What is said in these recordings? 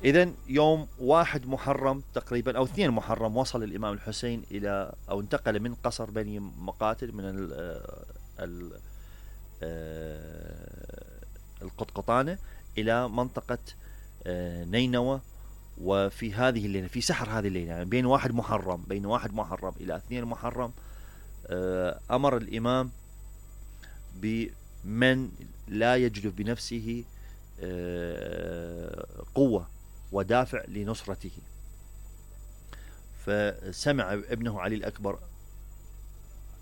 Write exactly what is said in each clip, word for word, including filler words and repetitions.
إذن يوم واحد محرم تقريبا أو اثنين محرم وصل الإمام الحسين إلى أو انتقل من قصر بني مقاتل من ال ال القطقطانة إلى منطقة نينوى. وفي هذه الليلة في سحر هذه الليلة يعني بين واحد محرم بين واحد محرم إلى اثنين محرم أمر الإمام بمن لا يجد بنفسه قوة ودافع لنصرته. فسمع ابنه علي الأكبر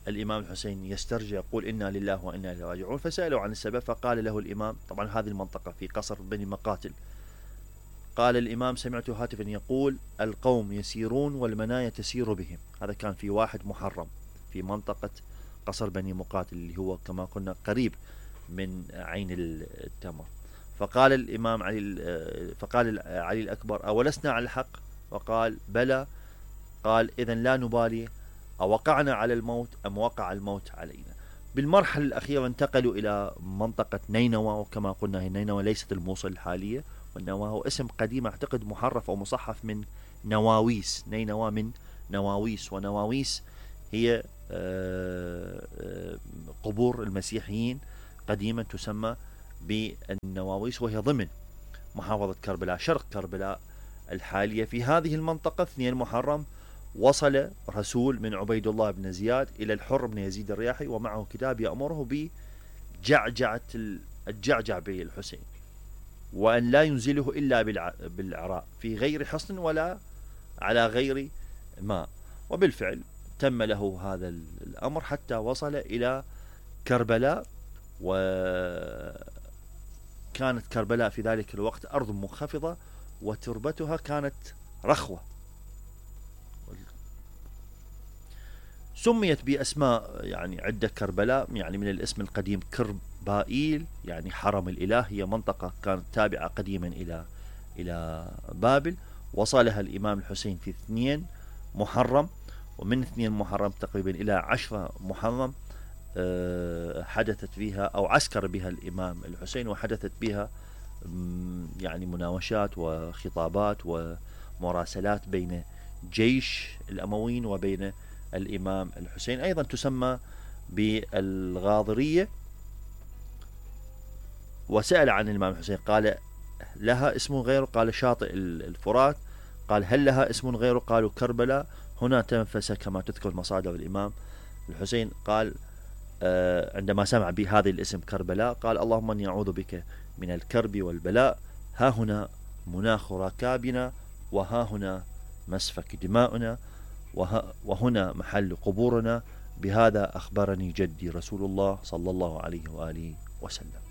الإمام الحسين يسترجع يقول إنا لله وإنا إليه راجعون، فسألوا عن السبب فقال له الإمام، طبعا هذه المنطقة في قصر بني مقاتل، قال الإمام سمعت هاتفا يقول القوم يسيرون والمنايا تسير بهم. هذا كان في واحد محرم في منطقة قصر بني مقاتل اللي هو كما قلنا قريب من عين التمر. فقال الإمام علي فقال علي الأكبر أولسنا على الحق؟ وقال بلى. قال إذن لا نبالي أوقعنا على الموت أم وقع الموت علينا. بالمرحلة الأخيرة انتقلوا إلى منطقة نينوى، وكما قلنا هي نينوى ليست الموصل الحالية، والنوى هو اسم قديم أعتقد محرف أو مصحف من نواويس. نينوى من نواويس، ونواويس هي قبور المسيحيين قديما تسمى بالنواويس، وهي ضمن محافظة كربلاء شرق كربلاء الحالية. في هذه المنطقة اثنين محرم وصل رسول من عبيد الله بن زياد إلى الحر بن يزيد الرياحي ومعه كتاب يأمره بجعجعة الجعجع بالحسين، وأن لا ينزله إلا بالعراء في غير حصن ولا على غير ماء. وبالفعل تم له هذا الأمر حتى وصل إلى كربلاء. وكانت كربلاء في ذلك الوقت أرض منخفضة وتربتها كانت رخوة، سميت بأسماء يعني عدة كربلاء، يعني من الاسم القديم كربائيل يعني حرم الإله، هي منطقة كانت تابعة قديما إلى إلى بابل. وصلها الإمام الحسين في اثنين محرم، ومن اثنين محرم تقريبا إلى عشرة محرم حدثت فيها أو عسكر بها الإمام الحسين، وحدثت بها يعني مناوشات وخطابات ومراسلات بين جيش الأمويين وبين الإمام الحسين. أيضا تسمى بالغاضرية. وسأل عن الإمام الحسين قال لها اسم غيره؟ قال شاطئ الفرات. قال هل لها اسم غيره؟ قالوا كربلاء. هنا تنفس كما تذكر مصادر الإمام الحسين. قال آه عندما سمع بهذا الاسم كربلاء قال اللهم اني اعوذ بك من الكرب والبلاء، ها هنا مناخ ركابنا، وها هنا مسفك دماؤنا، وهنا محل قبورنا، بهذا أخبرني جدي رسول الله صلى الله عليه وآله وسلم.